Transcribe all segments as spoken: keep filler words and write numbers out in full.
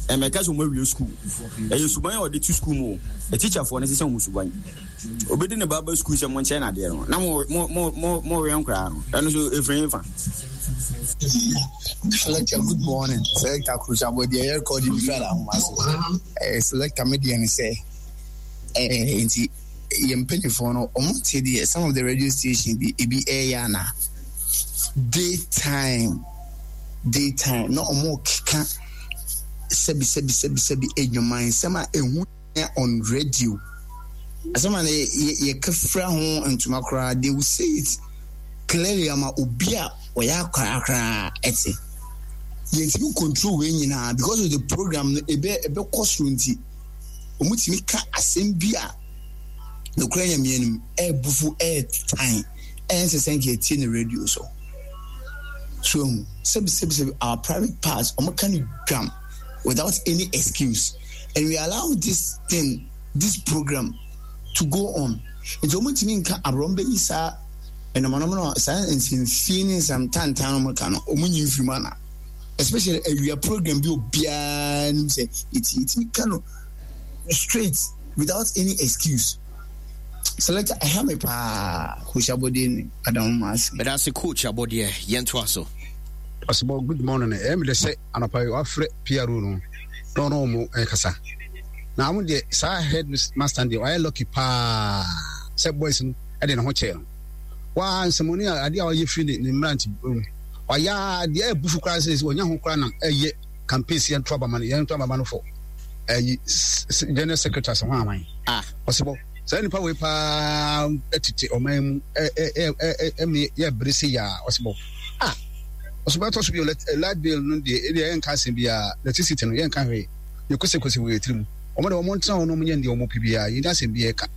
Ɛmɛka sɛ ɔmo awie school, ɛyɛ suban a ɔde to school mu o. Ɛtikyafoɔ no sɛ sɛ ɔmo suban obɛdi ne ba ba school sɛ mo nkyɛn nadeɛ no na mo mo mo mo mo wɛn koraa no, ɛno nso efiri nfa. Selector, good morning. Selector Krusa, deɛ yɛ recording bi fira ahoma so. Eh, selector me deɛ ne sɛ eh, nti yɛn mpanyinfoɔ no ɔmo te deɛ some of the radio station bi ebi ɛyɛ ana daytime daytime na ɔmo keka sɛbi sɛbi sɛbi sɛbi edwuma nsɛm a ehu on radio, asɛm a yɛ yɛka fira ho ntoma koraa, they will say it clearly ama obi a ɔyɛ akwaraa koraa ɛte. Yɛntumi control wei nyinaa because of the program no ebe ɛbɛkɔ soro, nti wɔn tumi ka asɛm bi a nokura Nyame anim ɛɛbufu, ɛɛtan, ɛnsɛ sɛ nka etie ne radio so so ehu sɛbi sɛbi sɛbi our private parts, wɔn ka no dwam without any excuse, and we allow this thing, this program to go on. Nti wɔn ntumi nka aborɔ bɛyi saa ɛnɔmɔnɔmɔ no, saa nsɛmfie ne nsɛm tantan no ka no, wɔn nyi nfiri mu ana, especially awia program bi, obiara nim sɛ eti etimi ka no straight without any excuse. Selector, ɛha me paa. Coach Abɔdeɛ ni Adamu Maasi. Meda ase, Coach Abɔdeɛ. Yɛntoa so. Ɔsebɔ, good morning. Ɛyɛ mi de sɛ anɔpa yi wafrɛ P R O no na ɔno ɔmo ɛkasa na ɔmo deɛ saa head master deɛ ɔayɛ lucky paa sɛ boys no ɛde ne ho kyɛɛ no waa nsɛmɔni a adeɛ a ɔyɛ firi ne ne mmerante mu ɔyɛ adeɛ ɛbufu koraa sɛ wɔnya ho koraa nam ɛyɛ campaign si yɛnto abama no yɛnto abama no fɔ ɛyi general secretary sɛ ho aman. Ah. Ɔsebɔ, saa nipa wei paa ɛtete ɔman mu ɛ ɛ ɛ ɛmi yɛ bere se yaa. Ɔsebɔ, ah, ɔsebɔ, ɛtɔ so bi o, light bill no deɛ, ɛdeɛ yɛnka asɛm biara, electricity no yɛnka hwee, yɛ kosekose wɔ yɛ tiri mu. Wɔn de wɔn ntena hɔ na wɔn nyɛ deɛ wɔn pɛ biara, yɛn asɛm biara ɛka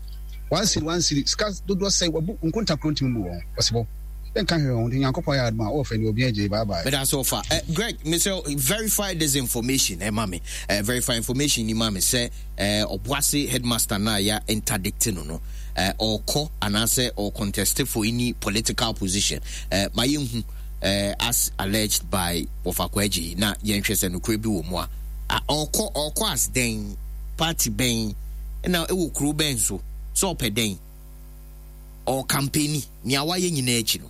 one cedi one cedi sika dodoɔ sɛ wabu nkonta kuro ntumi bu wɔn. Ɔsebɔ, yɛnka hwee wɔn de Nyankopɔn yɛ adum a ɔwɔ fɛ ne obi agye. Bye bye. Meda so fa uh, Greg, mesɛ verify this information ɛma me, uh, verify information ni ma me sɛ uh, Ɔboase headmaster na ya interdict no no uh, ɔkɔ anaasɛ ɔcontest for any political position uh, ma yɛnhu uh, as alleged by Wɔfa Kwagye na yɛnhwɛ sɛ nokorɛ bi wɔ mu a ɔkɔ ɔkɔ as dɛn, party bɛn na ɛwɔ kuro bɛn so, sɛ ɔpɛ dɛn, ɔcampaign nea wayɛ nyinaa akyi no,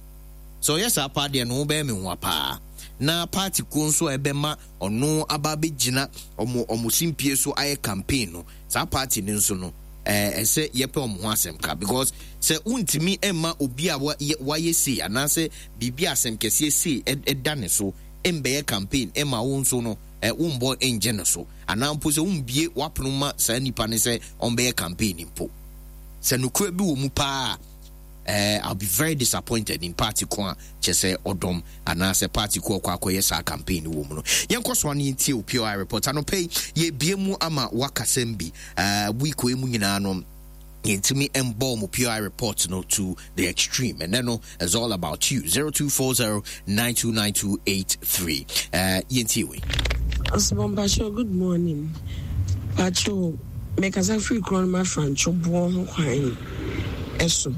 sɛ ɔyɛ saa paa deɛ no ho bɛyɛ me hoa paa. Na party ko nso a ɛbɛma ɔno aba abɛgyina ɔmo ɔmo simpie so ayɛ campaign no, saa party no nso no ɛɛ ɛsɛ yɛpɛ ɔmo ho asɛm ka, because sɛ wontumi mma obi a wayɛ sei anaasɛ biribi asɛm kɛseɛ sei ɛda ne so mbɛyɛ campaign ɛma wo nso no ɛ wombɔ ngye no so, anaa mpo sɛ wombie wapono ma saa nipa no sɛ ɔmbɛyɛ campaign mpo, sɛ nokura bi wɔ mu paa, uh, I'll be very disappointed in party ko a kyɛ sɛ ɔdɔm anaasɛ party ko ɔkɔ akɔyɛ saa campaign wɔ mu no. Yɛnkɔ so ano yɛntie o P O I report. Anɔpɛ yi yɛbie mu ama wakasɛm bi uh, week wei mu nyinaa no yɛntumi mbɔ mo P O I report no to the extreme, and then no, it's all about you. zero two four zero nine two nine two eight three. uh, yɛntie wei. Ɔsibɔn Pacho, good morning. Pacho, mekasa firi kuro no ma Frantwo boɔ ho kwan ɛso.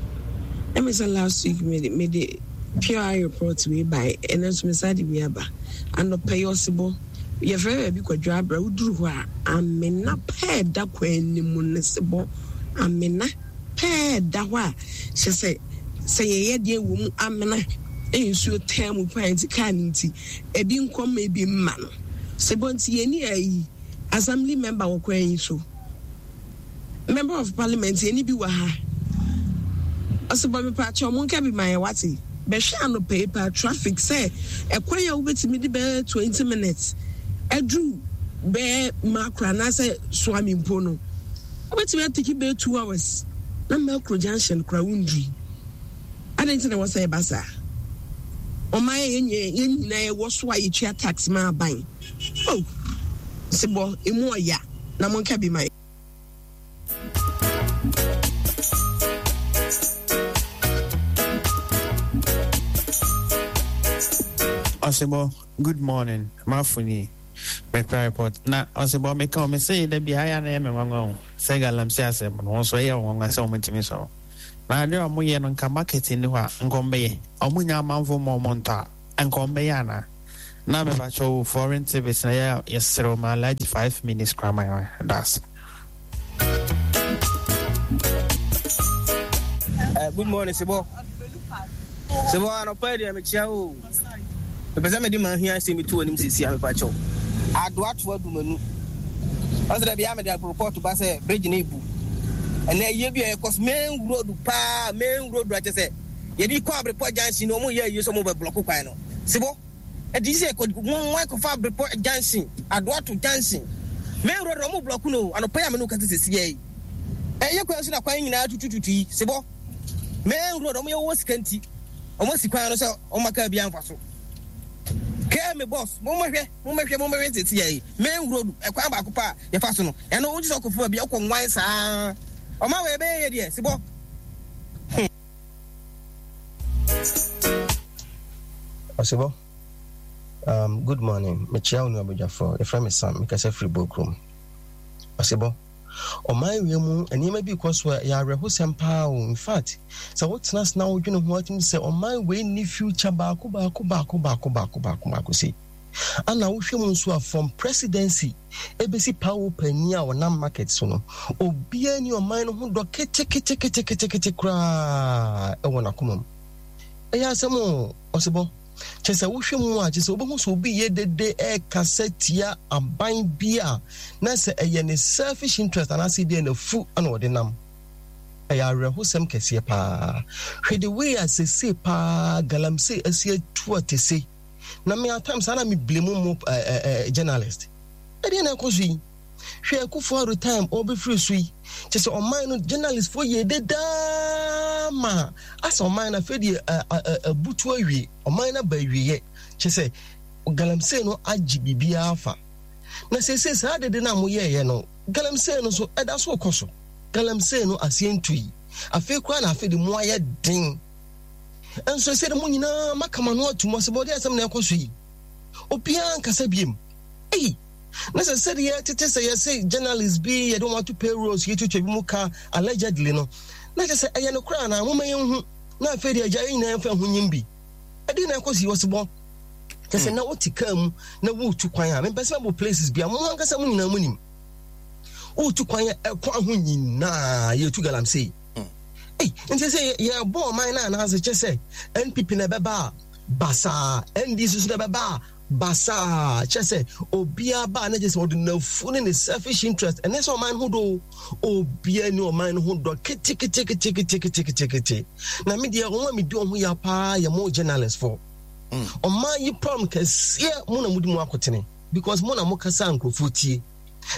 Ɛmi sɛ last week mede mede P O I report wei bae, ɛno nso mesa de bi aba. Anɔpɛ yi ɔsebɔ, yɛfrɛ baabi Kwadwo Abra, woduru hɔ a, amena pɛɛ da kwan anim ne sebɔ, amena pɛɛ da hɔ a kyerɛ sɛ sɛ yɛyɛ deɛ wɔ mu amena nsuo taa mu paa, nti kaa no nti ebi nkɔm ebi mma no sebɔ. Nti yɛni ayi assembly member wɔ kwan yi so, member of parliament yɛni bi wɔ ha. Ɔsebɔ, mepa akyɛ ɔmo nka bi ma yɛ wate bɛhwɛ anɔpɛ yi paa traffic sɛ ɛkwan a wobɛtumi de bɛyɛ twenty minutes aduru bɛyɛ Makro anaasɛ Suame mpo no, wobɛtumi atake bɛyɛ two hours na Makro junction kora wondui. Adɛn nti na wɔ sɛ ɛba saa? Ɔman yɛ yɛn nyinaa yɛwɔ so a yɛtua tax ma aban oh sebɔ emu ɔya na monka bi ma yɛ. Ɔsebɔ, good morning. Mafoni mekra report na ɔsebɔ meka o mese da bi ayɛ na ɛyɛ me nwanwa o sɛ galamsey asɛm no wɔn nso ɛyɛ wɔn nwanwa sɛ wɔn ntumi sɔrɔ na adeɛ a wɔyɛ no nka market ni hɔ a nka wɔn bɛyɛ, wɔn nya amanfo ma wɔn ntɔ a nka wɔn bɛyɛ anaa. Na mepakyɛ wo foreign service na yɛ yɛserɛ ma Alhaji five minutes koraa ma yɛ that's. Uh, good morning, Sibo. Sibo, anɔpa yi deɛ mekyia o. Mepɛ sɛ mede m'ahia asɛm bi to w'anim sisi a mepa kyɛw. Adoato adumanu. Ɔsɛ dɛ bia mede report ba sɛ bridge no ebu. Ɛnɛ ayie bi a ɛkɔ so main road paa main road akyɛ sɛ yɛde kɔ Abrepɔ junction no ɔmo yɛ ayie sɛ ɔmo bɛ blɔko kwan no. Sibo, ɛde sɛ kɔ mo akɔfa Abrepɔ junction, Adoato junction. Main road ɔmo blɔko no anɔpa yi a me ne wo kasa sisi yi. Ɛyɛ kwan so na kwan nyinaa tutututu yi Sibo. Main road ɔmo yɛ wɔ sika nti ɔmo si kwan no sɛ ɔmo aka bi anfa so. Kɛɛ me boss, mo mɛhwɛ, mo mɛhwɛ, mo mɛhwɛ sisi yɛ yi. Main road ɛkwan baako pa a yɛfa so no. Ɛno wogye sɛ ɔkɔfo baabi ɔkɔ nwan saa. Ɔma wɔ ɛbɛyɛ yɛ deɛ Sibo. Ɔsebɔ, um, good morning. Mekyia wo nuabadwafoɔ. Yɛfrɛ me Sam. Mekasa firi Bokurom. Ɔsebɔ, ɔman wei mu nneɛma bi kɔ so a ɛyɛ awerɛhosɛm paa o. In fact, sɛ wotena ase na wodwene ho atumi sɛ ɔman wei nni future baako baako baako baako baako baako baako sei. Ana wohwɛ mu nso a from presidency ebesi pawo panyin a ɔnam market so no, obiara ni ɔman no ho dɔ keteketeketekete koraa ɛwɔ n'akoma mu. Ɛyɛ asɛm o, Ɔsebɔ. Kyɛ sɛ wohwɛ mu a, kyɛ sɛ wobɛhu sɛ obi yɛ dede ɛrekasa tia aban bi a na sɛ ɛyɛ ne selfish interest anaasɛ bi a n'afu na ɔde nam. Ɛyɛ awerɛhosɛm kɛseɛ paa. Hwɛ the way a sese paa galamsey asi atu atese. Na me at times ana me blame mo eh, eh, journalist. Ɛdeɛ na ɛkɔ so yi. Hwɛ Akufo-Addo time ɔbɛfiri so yi. Kyɛ sɛ ɔman no journalist fo yɛ dedaa ma asɛ ɔman no afei deɛ abutu awie. Ɔman no aba awieɛ. Kyɛ sɛ galamsey no agye biribiara fa. Na seesei saa dede no a moyɛeɛ no, galamsey no so ɛda so kɔ so. Galamsey no aseɛ ntui. Afei koraa na afei de mo ayɛ den. Nso ɛsɛ de mo nyinaa maka mo ano atum ɔsɛ bɔde asɛm na ɛkɔ so yi. Obiara nkasa biem. Ei! Na sɛ sɛdeɛ tete sɛ yɛse journalist bi yɛde wɔn ato payrolls yɛtuatua bi mu ka allegedly no, na kyerɛ sɛ ɛyɛ nokorɛ anaa? Momma yɛnhu. Na afei deɛ agya yɛn nyinaa yɛmfa ho nyim bi. Ɛdeɛ na ɛkɔ so yi ɔsebɔ. Kyerɛ sɛ na wote kaa mu na woretu kwan a, mempɛ sɛ mɛbɔ places bi a mo ankasa mo nyinaa monim. Woretu kwan a ɛkwan ho nyinaa yɛtu galamsey. Ei, nti sɛ yɛbɔ ɔman no anaasɛ kyɛ sɛ N P P na ɛbɛba a basaa, N D C nso na ɛbɛba a basaa, kyɛ sɛ obiara ba a na kyɛ sɛ ɔde n'afu ne ne selfish interest, ɛne sɛ ɔman no ho dɔ o, obiara ni ɔman no ho dɔ keteketeketeketekete. Na me deɛ wɔn a medi wɔn ho ya paa yɛ mo journalist fo. Ɔman yi problem kɛseɛ mo na modi mu akotene because mo na mo kasa nkurɔfoɔ tie.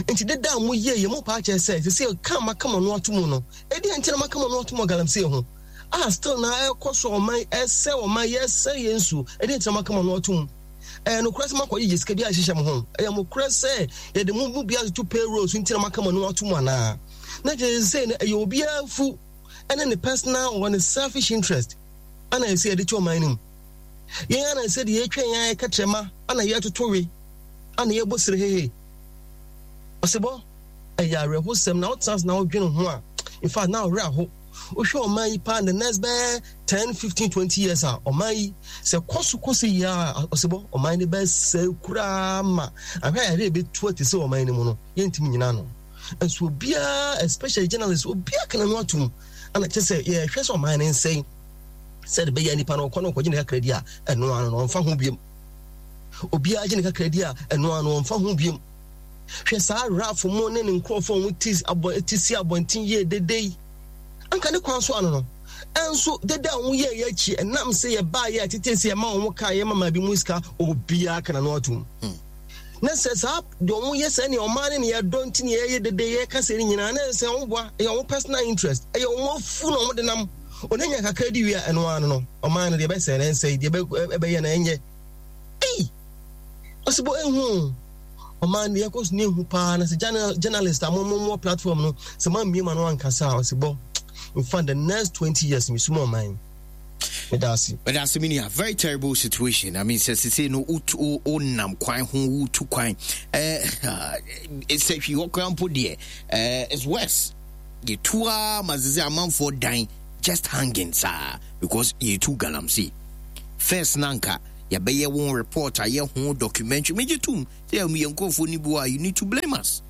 Nti deda a mo yie yɛ mo paa kyerɛ sɛ sɛ ka maka mo ano ato mu no, ɛdeɛ nti na maka mo ano ato mu galamsey ho a still na ɛkɔ so ɔman ɛsɛ ɔman yɛsɛ yɛn nsuo, ɛdeɛ nti na maka mo ano ato mu. Ɛyɛ nokorɛ sɛ moakɔgye gye sika bi ahyehyɛ mo ho? Ɛyɛ mokorɛ sɛ yɛde mo mu bi atoto payroll so nti na moaka mo ano ato mu anaa? Na kyerɛ sɛ no ɛyɛ obiara fu ɛne ne personal or ne selfish interest ana ɛsɛ yɛde to ɔman no mu. Yɛn ana ɛsɛ deɛ yɛtwa yɛn ayɛ kɛtrɛma ana yɛtoto we ana yɛbɔ sere hehe. Ɔsebɔ, ɛyɛ awerɛhosɛm na wotena ase na wodwene ho a, in fact na ɔwerɛ aho. Wohwɛ ɔman yi paa the next bɛyɛ ten, fifteen, twenty years a ɔman yi sɛ kɔ so kɔ so yie a ɔsebɔ ɔman no bɛsɛe koraa ma ahwɛ a yɛde bɛtu ate sɛ ɔman no mu no yɛntumi nyina no. Nso obiara especially journalists obiara kana no atom ana kyɛ sɛ yɛhwɛ sɛ ɔman no nsɛe sɛ de bɛyɛ nipa no ɔkɔ no ɔkɔgye ne kakra di a ɛno ano no ɔmfa ho biom. Obiara gye ne kakra di a ɛno ano ɔmfa ho biom. Hwɛ saa Ralph mo ne ne nkurɔfoɔ a wɔn ti abɔ ti si abɔnten yie dede yi. Anka ne kwan so ano no. Ɛnso dede a wɔn yɛɛ yɛ akyi ɛnam sɛ yɛbaa yɛ tete sɛ yɛma wɔn kaa yɛma maa bi mu sika obiara ka n'ano atom. Na sɛ saa deɛ wɔn yɛ sɛ nea ɔman ne nea ɛdɔ nti nea yɛyɛ dede yɛka sɛ ne nyinaa na sɛ wɔn boa ɛyɛ wɔn personal interest ɛyɛ wɔn afu na wɔn de nam wɔn anya kakra di wie a ɛno ano no ɔman no deɛ ɛbɛsɛ na ɛnsɛ deɛ ɛbɛyɛ na ɛnyɛ. Ei! Ɔsebɔ ehu ɔman deɛ ɛkɔ so ne ehu paa na sɛ journalist a mo mo mo platform no sɛ mo amie ma no ankasa a ɔsebɔ in fact the next twenty years mi sum ɔman. Medase. Medase me nua. Very terrible situation. I mean sɛ sese no wotu wonam kwan ho wotu kwan. Eh sɛ hwi hɔ kwan mpo deɛ eh it's worse. Yɛtu a ma sese amanfoɔ dan just hanging saa because yɛtu galamsey. First na nka Yɛbɛyɛ wɔn report, ayɛ ho documentary. Megye tom sɛ yɛn nkurɔfoɔ no bi wɔ a, you need to blame us.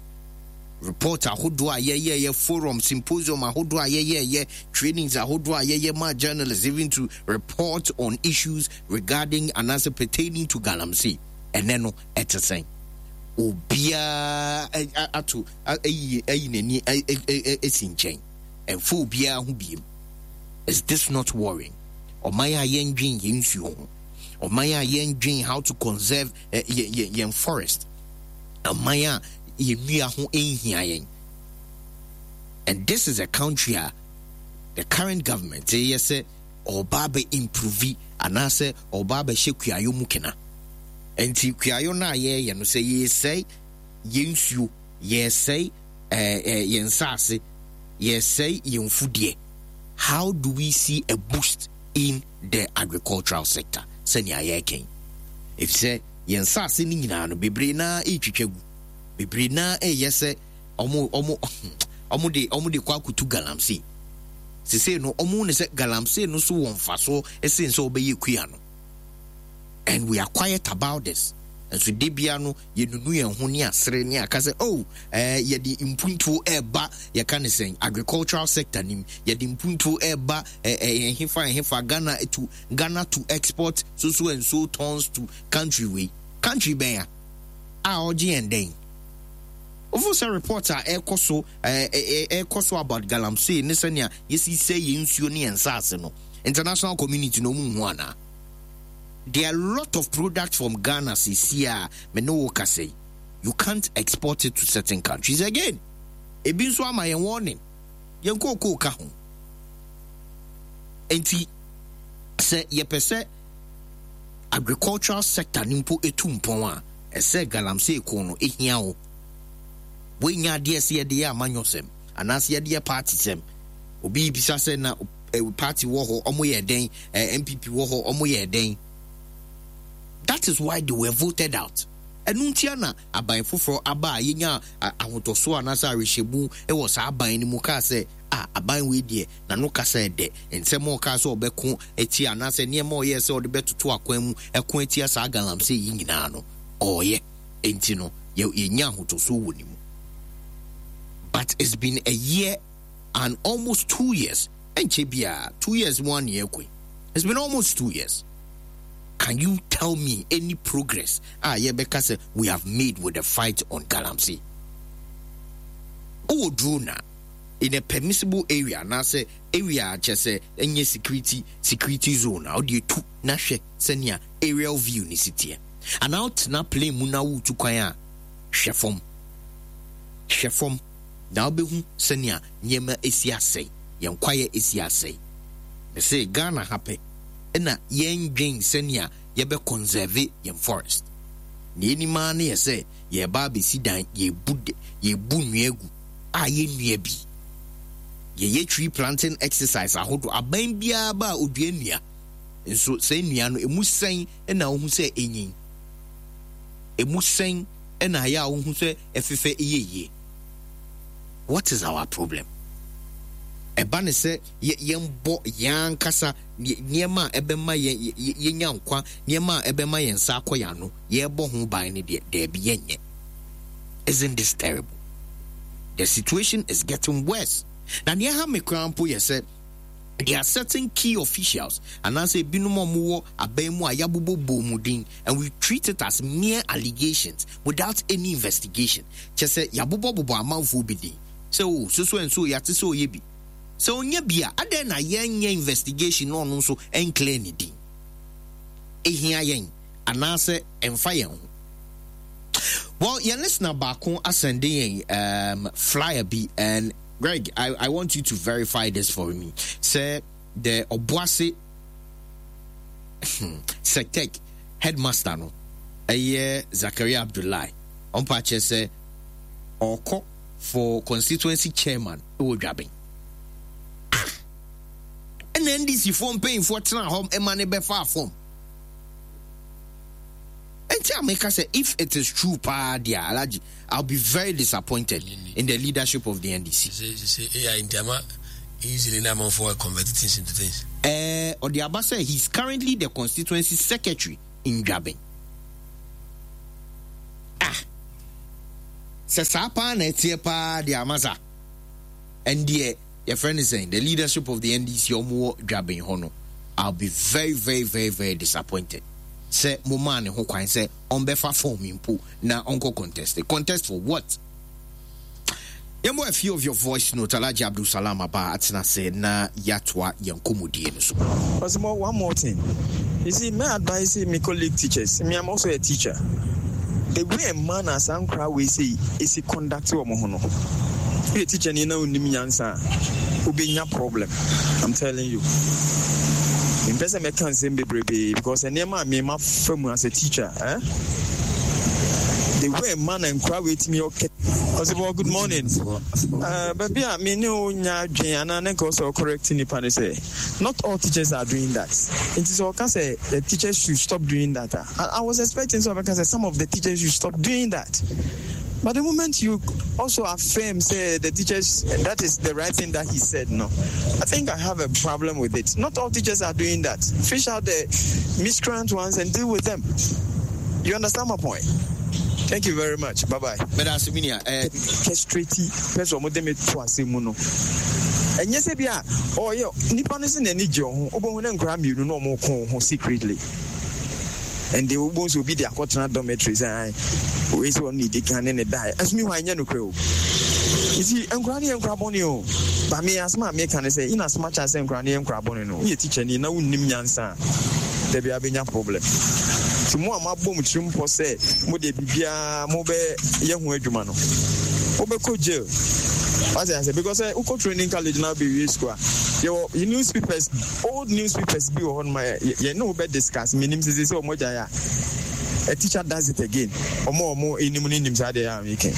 Report ahodoɔ a yɛyɛyɛ, forum, symposium ahodoɔ a yɛyɛyɛ, trainings ahodoɔ a yɛyɛ ma journalists even to report on issues regarding anaasɛ pertaining to galamsey. Ɛnɛ no ɛte sɛn? Obiara ato ayi ayi n'ani asi nkyɛn, ɛmfa obiara ho biem. Is this not worrying? Ɔman a yɛndwen yɛn nsuo ho, ɔman a yɛndwen how to conserve yɛn yɛn forest, ɔman a yɛn nnua ho nhia yɛn. And this is a country a the current government yɛ sɛ ɔba abɛ improve anaasɛ ɔba abɛhyɛ kuayɔ mu kena. Nti kuayɔ no a yɛreyɛ no, sɛ yɛresɛe yɛn nsuo, yɛresɛe ɛɛ ɛɛ yɛn nsaase, yɛresɛe yɛn mfudeɛ, how do we see a boost in the agricultural sector? Sɛnea yɛrekɛn, efisɛ yɛn nsaase no nyinaa no, bebree naa ɛretwitwa gu, bebree naa ɛreyɛ sɛ ɔmo ɔmo ɔmo de ɔmo de kɔ akotu galamsey. Sesei no, ɔmo ne sɛ galamsey no so wɔ mfasoɔ ɛsen sɛ ɔbɛyɛ kua no, and we are quiet about this. Nso de bia no, yɛnunu yɛn ho ne asere ne aka sɛ, oh, ɛɛ yɛde mpuntuo ɛɛba. Yɛka ne sɛn, agricultural sector nim, yɛde mpuntuo ɛɛba. ɛɛ ɛhefa ɛhefa Ghana to Ghana to export so so and so tons to country wei, country bɛn a a ɔgye yɛn dɛn? Wofo sɛ report a ɛkɔ so ɛɛ ɛkɔ so about galamsey ne sɛnea yɛsi sɛ yɛn nsuo ne yɛn nsaase no, international community na ɔmo nhu anaa? There are a lot of products from Ghana sisi a me ne wo kasa yi, you can't export it to certain countries again. Ebi nso ama yɛn warning. Yɛn kookoo ka ho. Nti sɛ yɛpɛ sɛ agricultural sector no mpo etu mpɔn a, ɛsɛ galamsey ko no ehia wo. Wonya adeɛ sɛ yɛde yɛ amanyɔsɛm anaasɛ yɛde yɛ party sɛm. Obi bisa sɛ na party wɔ hɔ, ɔmo yɛ dɛn? N P P wɔ hɔ, ɔmo yɛ dɛn? That is why they were voted out. Ɛno ntia na aban foforɔ aba a yɛnya ahotɔsoɔ anaasɛ awerɛhyɛmu wɔ saa aban no mu kaa sɛ a aban wei deɛ, n'ano kasa ɛdɛ, nsɛm a ɔkaa sɛ ɔbɛko atia anaasɛ nneɛma a ɔyɛɛ sɛ ɔde bɛtoto akwan mu ɛko atia saa galamsey yi nyinaa no, ɔɔyɛ. Nti no yɛnya ahotɔsoɔ wɔ ne mu. But it's been a year and almost two years, ɛnkyɛ biara two years mu aneɛ ɛkɔ. It's been almost two years. Can you tell me any progress a yɛbɛka sɛ we have made with the fight on galamsey? Wowɔ drone a, in a permissible area anaasɛ area a kyɛ sɛ ɛnyɛ security security zone a, wode etu na hwɛ sɛnea aerial view ne si teɛ, anaa wotena plane mu na woretu kwan a, hwɛ fam, hwɛ fam na wobɛhu sɛnea nneɛma esi asɛe, yɛn kwaeɛ esi asɛe. Mese Ghana ha pɛ ɛna yɛndwen sɛnea yɛbɛ conserve yɛn forest. Na yɛnim ara ne yɛ sɛ yɛreba abɛsi dan, yɛbu yɛbu nnua gu a yɛnnua bi. Yɛyɛ tree planting exercise ahodoɔ, aban biara ba a, odua nnua. Nso sɛ nnua no emu sɛn ɛna wohu sɛ enyin? Emu sɛn ɛna ayɛ a wohu sɛ ɛfefɛ yɛ yie? What is our problem? Ɛba ne sɛ yɛmbɔ yɛn ankasa nneɛma a ɛbɛma yɛn yɛnya nkwa, nneɛma a ɛbɛma yɛn nsa akɔ yɛn ano, yɛrebɔ ho ban no deɛ, daabi, yɛnyɛ. Isn't this terrible? The situation is getting worse. Na nea ha me koraa mpo yɛ sɛ there are certain key officials anaasɛ ebinom a wɔwɔ aban mu a yɛabobɔ bɔ mu din, and we treat it as mere allegations without any investigation. Kyɛ sɛ yɛabobɔbobɔ amanfoɔ bi din sɛ o so so and so, yɛate sɛ ɔyɛ bi, sɛ ɔnyɛ bi a, adɛn na yɛnyɛ investigation na ɔno nso ɛnclear ne din? Ehia yɛn anaasɛ ɛmfa yɛn ho? Well, yɛn listener baako asɛnde yɛn um, flyer bi, and Greg, I, I want you to verify this for me, sɛ the Obuasi Sectec headmaster no, ɛyɛ Zakaria Abdullahi, ɔmpa kyerɛ sɛ ɔkɔ for constituency chairman ɛwɔ Dwaben. Ah, ɛna N D C foɔ mpanyinfoɔ tena hɔ ɛma ne bɛfa fam. Nti a meka sɛ if it is true paa deɛ, Alhaji, I'll be very disappointed in the leadership of the N D C. A I nti ama easily na amanfoɔ convert things into things. Ɛɛ, ɔde aba sɛ he's currently the constituency secretary in Dwaben. Ah, sɛ saa paa na ɛteɛ paa deɛ amasa, ɛndeɛ yɛfrɛ no sɛn, the leadership of the N D C ɔmo wɔ Dwaben hɔ no, I'll be very, very, very, very disappointed sɛ mo maa ne ho kwan sɛ ɔmbɛfa form mpo na ɔnkɔ contest. Contest for what? Yɛmmɔ a few of your voice note. Alhaji Abdul Salam aba atena ase na yɛatoa yɛn nkɔmmɔdie no so. Osimo, one more thing. You see, may I advise my colleague teachers. Me, I'm also a teacher. The way a man as nkra we say is he conduct wɔn ho no. Woyɛ teacher ni na onim nyansa a, wobɛnya problem. I'm telling you. Mpɛ sɛ mɛka nsɛm bebrebe because nneɛma a mema fa mu as a teacher, eh? The way man nkra wei tumi ɔkɛ. Ɔsibɔ, good morning. Uh, baabi a me ne wo nya adwen anaa ne nka ɔsɛ ɔcorrect nipa ne sɛ not all teachers are doing that. Nti sɛ ɔka sɛ the teachers should stop doing that a, I, I was expecting sɛ ɔbɛka sɛ some of the teachers should stop doing that. But the moment you also affirm, say the teachers, that is the right thing that he said, no. I think I have a problem with it. Not all teachers are doing that. Fish out the miscreant ones and deal with them. You understand my point? Thank you very much. Bye bye. Meda ase, minia. Eh, Straight person mo de me to ase mu no. Ɛnyɛ sɛ bi a ɔyɛ nipa no sɛ n'ani gye ho, wobɛhu ne nkora mmienu na ɔmo ko ho secretly, and they wobɛhu sɛ obi de akɔtena dormitory sɛ ae wei sɛ ɔno ne di kan ne ne dae ɛso mi hɔ a, ɛnyɛ nokorɛ o. Nti nkora no yɛ nkora bɔne o, ba me asɛm a meka ne sɛ in as much as sɛ nkora no yɛ nkora bɔne no, woyɛ teacher ni na wonnim nyansa a, dabi abɛnya problem. Nti mo a moabɔ mo tirim pɔ sɛ mode biribiaa mobɛyɛ ho adwuma no, wobɛkɔ jail. Wate ase? Because sɛ wokɔ training college na wobɛwie school a, yɛwɔ newspapers, old newspapers bi wɔ hɔ nom a yɛne wo bɛ discuss. Menim sese sɛ ɔmo gyae a, a teacher does it again. Ɔmo a ɔmo anim no nim saa deɛ a meka.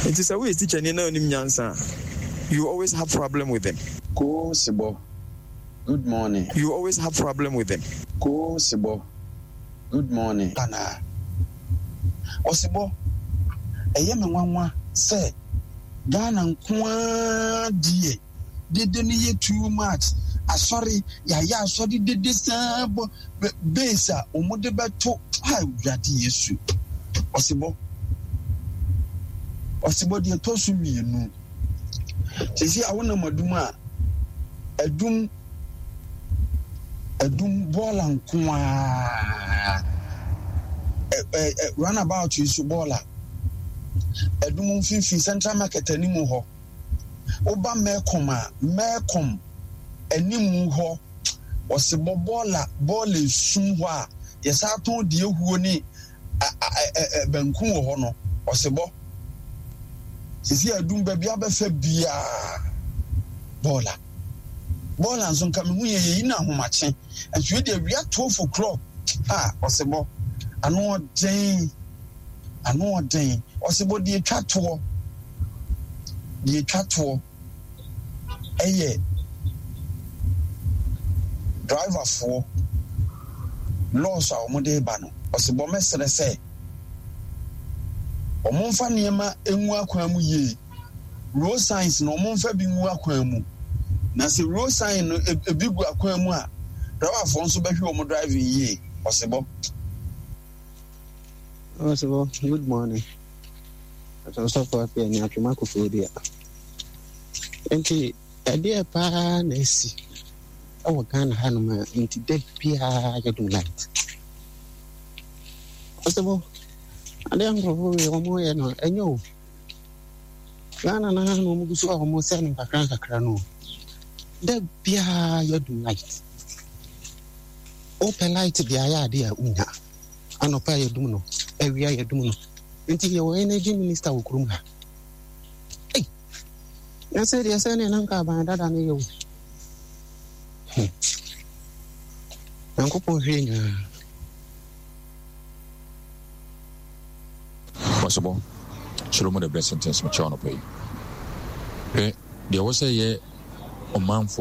Nti sɛ woyɛ teacher ni na onim nyansa a, you always have problem with them. Koo Sebɔ, good morning. You always have problem with them. Koo Sebɔ, good morning. Anaa Ɔsebɔ, ɛyɛ me nwanwa sɛ Ghana nko ara deɛ dede no yɛ too much. Asɔre, yɛayɛ asɔre dede saa bɔ base a wɔde bɛto ha. Awurade Yesu. Ɔsebɔ, Ɔsebɔ, deɛ ɛtɔ so mmienu, sisi a wonam Adum a, Adum, Adum bɔɔla nko ara, ɛ ɛ runabout yi so bɔɔla, Adum mfimfini Central Market anim hɔ, woba Mɛkɔm a, Mɛkɔm anim hɔ, Ɔsebɔ, bɔɔla, bɔɔla esum hɔ a yɛsa tɔn deɛ ehuo ne banku wɔ hɔ no. Ɔsebɔ, sisi Adum baabi abɛfɛ biara bɔɔla, bɔɔla nso nka mehu yɛ yɛyi no ahomakye nso yɛ deɛ awia twelve o'clock a. Ɔsebɔ, ano ɔden, ano ɔden. Ɔsebɔ, deɛ etwa toɔ, deɛ etwa toɔ ɛyɛ driverfoɔ laws a wɔde ba no. Ɔsebɔ, mɛsrɛ sɛ wɔn mfa nneɛma ngu akwan mu yie. Road signs na wɔn mfa bi ngu akwan mu, na sɛ road sign no ebi gu akwan mu a, driverfoɔ nso bɛhwɛ wɔn driving yie. Ɔsebɔ. Ɔsebɔ, good morning. Ɔsɔfo afei ni atwoma kofoɔ dua. Nti ɛdeɛ paa na esi ɛwɔ Ghana hanom a nti da biara yɛdum light. Ɔsebɔ, adeɛ nkurɔfoɔ wei wɔn yɛ no ɛnyɛ o. Ghana na na wɔn gu so a wɔn sɛ no nkakra nkakra no. Da biara yɛdum light. Wopɛ light de ayɛ adeɛ a wonya. Anɔpa yɛdum no, awia yɛdum no. Nti yɛwɔ energy minister wɔ kurom ha. Ei, na sɛ deɛ sɛ ne na nka aban dada no yɛ o. Hmm. Nyankopɔn hwɛ nyinaa. Ɔsebɔ, Shalom the blessing things mekyerɛ anɔpa yi. Hwɛ, deɛ ɛwɔ sɛ yɛ ɔmanfo